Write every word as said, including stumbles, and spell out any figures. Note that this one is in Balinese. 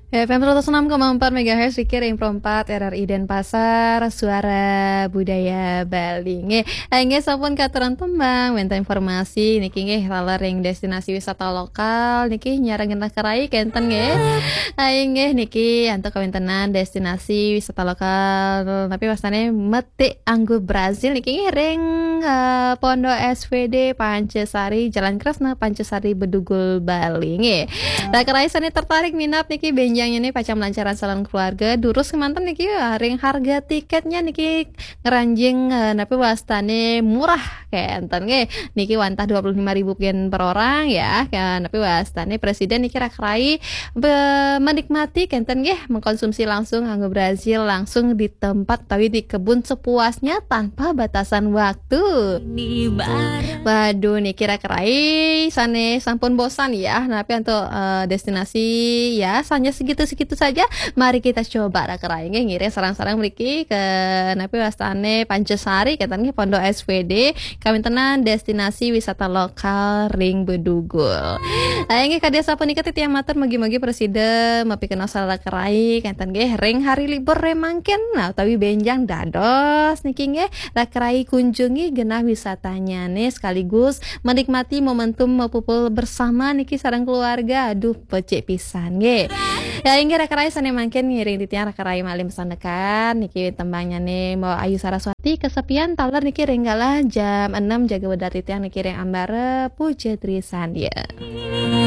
F M seratus enam koma empat megahertz, Riki ring Pro empat R R I Denpasar, Suara Budaya Bali. Nggih, eh, nggih, sampun katuran tembang, wénten informasi niki nggih, taler ring destinasi wisata lokal niki nyarengin Raka Rai kénten nggih. Eh, nggih, niki antuk kawéntenan destinasi wisata lokal, tapi wastané metik anggur Brazil niki nggih ring, eh, Pondok S V D Pancasari, Jalan Kresna Pancasari, Bedugul, Bali nggih. Raka Rai sané tertarik minat niki bénjang niki pacang malancaran sareng keluarga, durus kémanten niki, eh, ring harga tiketnya niki ngranjing, eh, napi wastané murah kénten nggih. Niki wantah dua puluh lima ribu yen per orang ya. Ya, napi wastané presiden niki Raka Rai be-, menikmati kénten nggih, mengkonsumsi langsung anggur Brazil langsung di tempat utawi di kebun sepuasnya tanpa batasan waktu. Waduh, niki Raka Rai sané sampun bosan ya, napi antuk, eh, destinasi ya, hanya segitu-segitu saja. Mari kita coba Raka Rai nggih, ngiring sareng-sareng mriki ke napi wastané Pancasari, kénten nggih, Pondok S V D, kawéntenan destinasi wisata lokal ring Bedugul. Ayo nggih, kadi sapunika titiang matur, mugi-mugi prasida mapikenoh sareng Raka Rai, kénten nggih, ring hari libur ring mangkin, nah, utawi bénjang dados niki nggih, Raka Rai kunjungi genah wisatanyané sekaligus menikmati momentum mapupul bersama niki sareng keluarga. Aduh, becik pisan nggih. Ya, inggih Raka Rai sané mangkin ngiring titiang Raka Rai malih masandekan niki tembangnyané Mbok Ayu Saraswati, Kesepian, taler niki ring galah jam enam, jaga wedar titiang niki ring Ambara Puja Trisandya.